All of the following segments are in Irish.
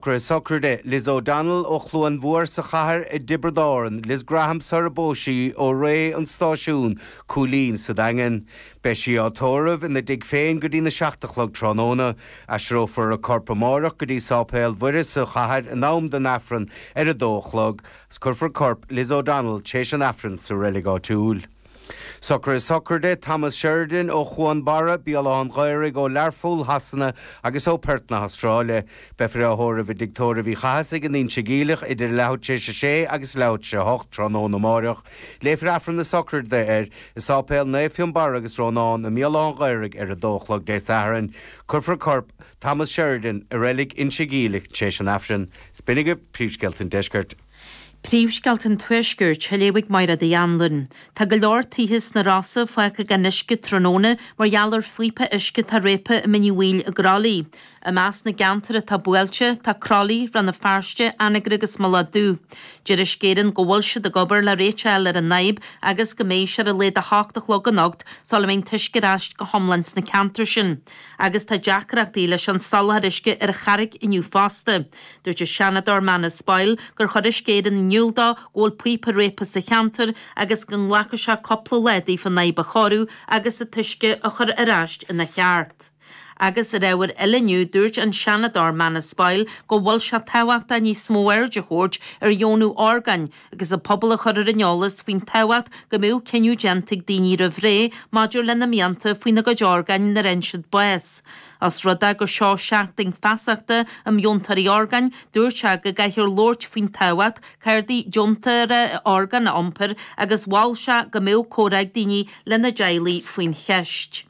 Socruithe sochraide Liz O'Donnell ó Chluain Mhór sa chathair i dTiobraid Árann, Liz Graham sar a bpós sí ó Rae an Stáisiún, Cúilín sa Daingean. Beidh sí á tórramh ina dtigh féin go dtína 7 a chlog tráthnóna. Aistreofar a corp amáireach go dtí Sáipéal Mhuire sa chathair in am don Aifreann ar a dó a chlog, 's cuirfear corp Liz O'Donnell t'éis an Aifrinn sa reilig áitiúil. Socruithe sochraide Thomas Sheridan ó Chuan Barra, Béal Átha an Ghaorthaidh ó Learpholl, Shasana agus ó Perth na hAstráile. Beifear á thórramh i dTigh Tórraimh Uí Chathasaigh in Inse Geimhleach idir leathuair tar éis a sé agus leathuair tar éis a hocht tráthnóna amáireach. Léifear Aifreann na sochraide air i Sáipéal Naomh Fionnbarra agus Rónán i mBéal Átha an Ghaorthaidh ar a dó a chlog Dé Sathairn. Cuirfear corp Thomas Sheridan i reilig Inse Geimhleach tar éis an Aifrinn. 'S b'in agaibh príomhscéalta an deiscirt. Príomhscéalta an Tuaiscirt, á léamh ag Máiréad Uí Anluain. Tá go leor tithe sna Rosa fágtha gan uisce tráthnóna mar gheall ar phíopa uisce atá réabtha i Mín Uí Bhaoill i gCroithlí. I measc na gceantar atá buailte, tá Croithlí, Rann na Feirste, Anagaire agus Mullach Dubh. Deir Uisce Éireann go bhfuil siad ag obair le réiteach a fháil ar an fhadhb agus go mbeidh sé ar a laghad 8 a chlog anocht sula mbeidh an t-uisce ar ais go hiomlán sna ceantair sin. Agus tá deacrachtaí leis an soláthar uisce ar an Charraic inniu fosta. Dúirt an Seanadóir Manus Boyle gur chuir Uisce Éireann in iúl dó go bhfuil píopa réabtha sa cheantar agus go nglacfaidh sé cúpla lá daofa an fhadhb a chóiriú agus an t-uisce a chur ar ais ina cheart. Agus ar ábhar eile inniu dúirt an Seanadóir Manus Boyle go bhfuil sé tábhachtach níos mó aird a thabhairt ar dheonú orgáin agus an pobal a chur ar an eolas faoin tábhacht go mbeadh cinneadh déanta ag daoine roimh ré maidir lena mianta faoina gcuid orgáin nuair a fhaigheann siad bás. Os rud é gur seo seachtain feasachta um dheontóirí orgáin, dúirt sé go gcaithfear labhairt faoin tábhacht cártaí deontóra orgán a iompar agus mhol sé go mbeadh comhrá ag daoine lena dteaghlaigh faoin cheist.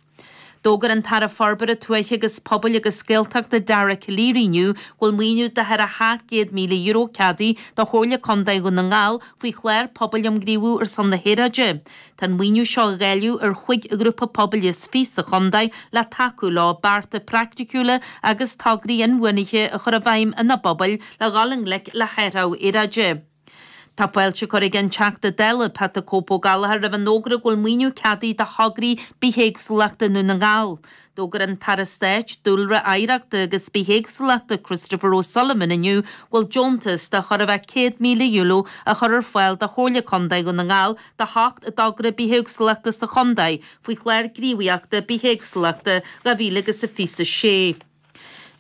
D'fhógair an tAire Forbartha Tuaithe agus Pobail agus Gaeltachta Dara Calleary inniu go bhfuil maoiniú de thar €700,000 ceadaithe do Chomhairle Contae Dhún na nGall faoi chlár pobail um Ghníomhú ar son na hAeráide. Tá an maoiniú seo á dháileadh ar chúig ghrúpa pobail is fiche sa chontae le tacú leo bearta praiticiúla agus tograí inbhuanaithe a chur i bhfeidhm ina bpobail le dhul i ngleic le hathrú aeráide. Tá fáilte curtha ag an Teachta Dála, Pat 'The Cope' Ó Gallchóir roimh an fhógra go bhfuil maoiniú ceadaithe do thograí bithéagsúlachta i nDún na nGall. D'fhógair an tAire Stáit Dúlra, Oidhreachta agus Bithéagsúlachta Christopher O'Sullivan inniu go bhfuil deontas de chóir a bheith €100,000 á chur ar fáil do Chomhairle Contae Dhún na nGall do sheacht dtogra bithéagsúlachta sa chontae faoi Chlár Gníomhaíochta Bithéagsúlachta 2026.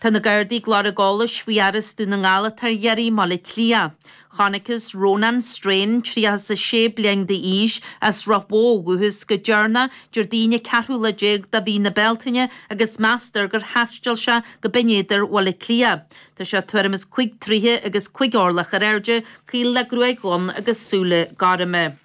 Tá na Gardaí ag lorg eolais faoi fhear as Dún na nGall atá ar iarraidh i mBaile Átha Cliath. Chonacthas Rónán Strain, 36 bliain d'aois, as Ráth Bhoth ó dhúchas go deireanach Déardaoin an ceathrú lá déag de mhí na Bealtaine agus meastar gur thaistil sé go Binn Éadair Bhaile Átha Cliath. Tá sé tuairim is 5 troighe agus 5 orlach ar airde, caol le gruaig dhonn agus súile gorma.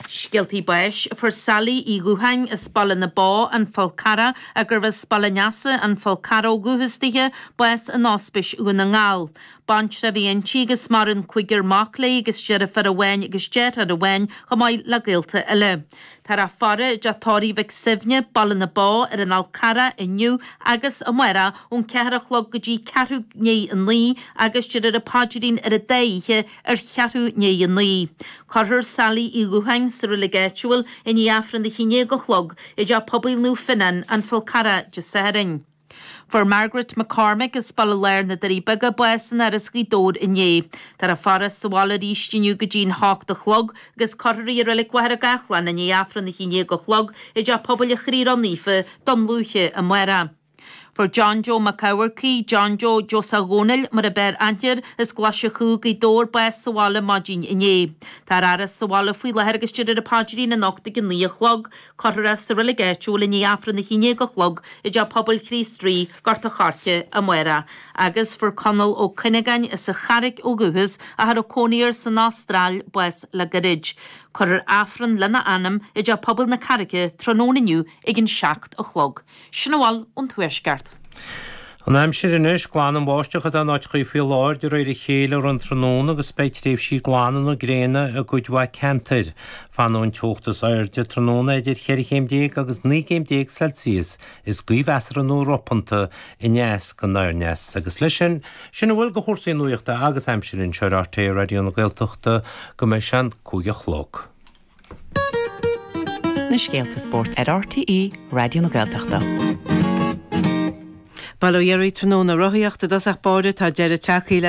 Scéaltaí báis, Fuair Sally Uí Dhútháin as Baile na Bó, An Fál Carrach, gurbh as Baile an Easa, An Fál Carrach ó dhúchas dithe, bás in Ospís Dhún na nGall. Baintreach a bhí inti agus maireann cúigear mac léi agus deirfiúr amháin agus deartháir amháin chomh maith le gaolta eile. Táthar á faire i dTeach Tórraimh Mhic Suibhne, Baile na Bó, ar an Fhál Carrach inniu agus amárach ón ceathair a chlog go dtí ceathrú i ndiaidh a naoi agus déarfar an paidrín ar an dá oíche ar cheathrú i ndiaidh a naoi. Cuirfear Sally Uí Dhútháin sa reilig áitiúil i ndiaidh Aifreann a haon déag a chlog i dTeach Pobail Naomh Fionnán, An Fál Carrach, Dé Sathairn. Fuair Margaret McCormick as Baile Láir na Doirí Beaga bás in Áras Ghaoth Dobhair inné. Táthar á faire sa bhaile arís inniu go dtí'n hocht a chlog agus cuirfear í i Reilig Mhachaire Gathlán i ndiaidh Aifreann a haon déag a chlog i dTeach Pobail an Chroí Ró-Naofa, Dún Lúiche, amárach. Fuair John Joe Mac Eamharcaigh, John Joe Joseph Dhónaill mar a b'fhearr aithne air, as Glaise Chú, Gaoth Dobhair, bás sa bhaile maidin inné. Tá ar fhaire sa bhaile faoi láthair agus déarfar an paidrín anocht ag a naoi a chlog. Cuirfear é sa reilig áitiúil i ndiaidh Aifreann a haon déag a chlog i dTeach Pobail Chríost Rí, Gort a' Choirce, amárach. Agus fuair Conall Ó Cuinneagáin as an Charraic ó dhúchas, ach a raibh cónaí air san Astráil, bás le gairid. Cuirfear Aifreann lena anam i dTeach Pobail na Carraice tráthnóna inniu ag an 7 a chlog. Sin a bhfuil ón Tuaisceart. An aimsir anois, glan an bháisteach atá in áiteachaí faoi láthair de réir a chéile i rith an tráthnóna agus beidh tréimhsí glana nó gréine i gcuid mhaith ceantair. Fanfaidh an teocht is airde tráthnóna idir cheithre chéim déag agus 19 gcéim Celsius. Is gaoth mheasartha nó ropanta aneas go anoirneas. Agus leis sin, sin a bhfuil de chúrsaí nuachta agus aimsire anseo ar RTÉ Raidió na Gaeltachta go mbeidh sé an 5 a chlog. Na scéalta spóirt ar RTÉ Raidió na Gaeltachta. Bail ó Dhia oraibh tráthnóna. Rothaíocht i dtosach báire, tá deireadh tagtha le.